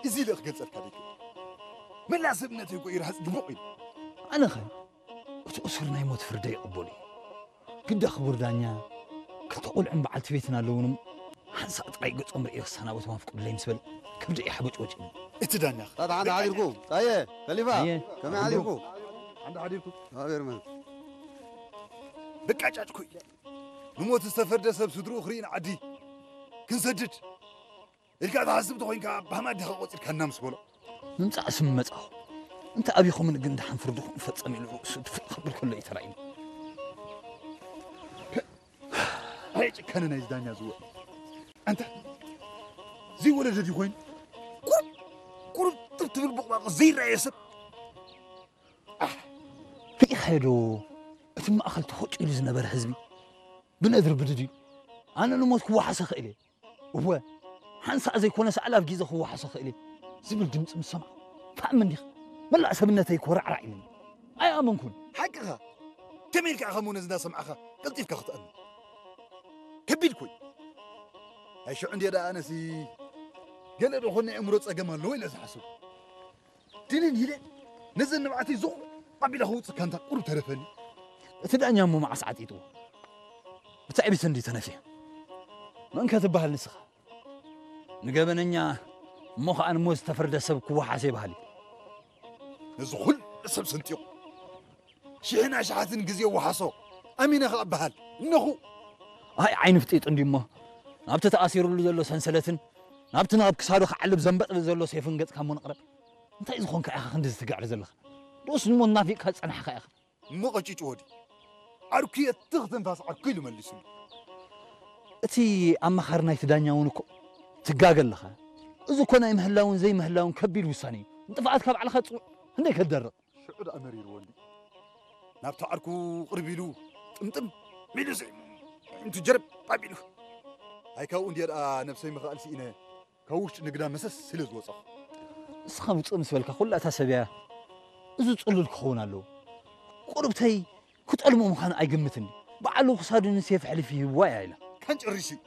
እዚ ኢለ ክገልጸልካ ደይክእል። መላእ ሰብነተይ እኮ ይርሃጽ ድቡቕ ኢሉ። ኣነኸ እቲ እሱር ናይ ሞት ፍርደይ ይቕበሉ እዩ። ግዳ ክቡር ዳኛ፣ ክልተ ቆልዑን በዓልቲ ቤትን ኣለውንም፣ ሓንሳእ ጥራይ ገጾም ርእየ ክሰናበቶም ኣፍቅዱለይ ምስ በለ፣ ከብደይ ሓቦጭቦጭ ኢሉ። እቲ ዳኛ ኸ? ታ-፣ ሓንዳ ሓዲርኩ። ጣየ፣ ከሊፋ፣ ኣየ፣ ከመይ ሓዲርኩ? ሓንዳ ሓዲርኩ። ኣቤርመን። በቃ ጫጭኩ ኢለ። ንሞት ዝተፈርደ ሰብ ስድርኡ ክርኢ ንዓዲ ክንሰድድ ኢልካ ትሓስብ ተኾይንካ፣ ብሃማት ዲኻ ቆጺርካና ምስ በሎ። ምምጻእ ስም መጻኹ። እንተ ኣቢኹምን ግን ደሓን ፍርድኹም ፈጸም ኢሉ ርእሱ ድፍእ ክብል ከሎ እዩ ተራእዩኒ። ኣይ ጭካነ ናይዚ ዳኛ ዝወ-፣ ኣንታ ዘይወለደ ድዩ ኮይኑ? ቁሩብ፣ ቁሩብ ጥብ ትብል ቡቕባቕ ዘይረኣየ ሰብ። ኣሕ፣ ርኢኻዮ ዶ? እቲ ማእከል ተኾጭ ኢሉ ዝነበረ ህዝቢ ብነድሪ ብድድ ኢሉ፣ ኣነ ንሞት ክወሓሰ ክእል እየ። እወ፣ ሓንሳእ ዘይኮነስ ኣላፍ ግዜ ክወሓሶ ክእል እየ ዝብል ድምጺ ምስ ሰማዕኩ፣ ትኣምን ዲኻ? መላእ ሰብነተይ ኮራዕራዕ ኢሉኒ። ኣይኣመንኩን። ሓቅኻ። ከመይ ኢልካ ኢኻ እሞ ነዚ እንዳሰማዕኻ ቀልጢፍካ ክትኣምን? ከቢድ እኮ እዩ። ኣይ ሽዑ እንድየ ደኣ ኣነሲ ገለ ዶ ኾን ናይ ኣእምሮ ጸገም ኣለዎ ኢለ ዝሓስብ። ድንን ኢለ ነዘን ንብዓተይ ዞቕ ኣቢለ ከውጽእ ካንታ ቁሩብ ተረፈኒ። እቲ ዳኛ እሞ መዓስ ዓጢጥዎ? ብትዕቢት እንዲ ተነፍየ። መን ከ ትበሃል ንስኻ? ንገበነኛ እሞ ኸኣ ንሞት ዝተፈርደ ሰብ ክወሓሴ በሃሊ። ነዚ ኹሉ ሰብ ሰንጢቑ ሽሕን ኣሽሓትን ግዜ ወሓሶ ኣሚነ ከኣ በሃል እነኹ። ኣይ ዓይኒ ፍጢጡ እንዲ እሞ ናብቲ ተኣሲሩሉ ዘሎ ሰንሰለትን ናብቲ ናብ ክሳዱ ክዓልብ ዘንበጥብጥ ዘሎ ሴፍን ገጽካ እሞ ንቕረብ። እንታይ ዝኾንካ ኢኻ ክንዲ ዝትግዕር ዘለኻ? ዶስ ንሞት ናፊቕካ ዝጸናሕካ ኢኻ? እሞ ቀጭጭ ወዲ ዓርኩ እየ ትኽ ትንፋስ ዓርኩ ኢሉ መሊሱሉ። እቲ ኣማኻሪ ናይቲ ዳኛ እውን እኮ ትጋገ ኣለኻ። እዚ እኮ ናይ ምህላውን ዘይምህላውን ከቢድ ውሳኔ እዩ። ንጥፍኣትካ ባዕልኻ ጽውዕ። ክንደይ ከትደርቕ? ሽዑ ደኣ መሪርዎ እንዲ ናብቲ ዓርኩ ቅርብ ኢሉ ጥምጥም ኢሉ ስዒሙ፣ ኣዒንቱ ጀረብ ኣቢሉ። ኣይ ካብኡ እንድየ ደኣ ነብሰይ ምኽኣል ስኢነ ካብ ውሽጢ ንግዳ መሰስ ስለ ዝወጸኹ። ንስኻ ውጽእ ምስ በልካ ኩላ እታ ሰብ እያ። እዚ ጽሉል ክኸውን ኣለዎ። ቁርብተይ ክጠልሞ ምዃኑ ኣይግምትን። ባዕሉ ክሳዱ ንሴፍ ኣሕሊፉ ይህብዋ እያ ኢላ። ካን ጨሪሱ እዩ።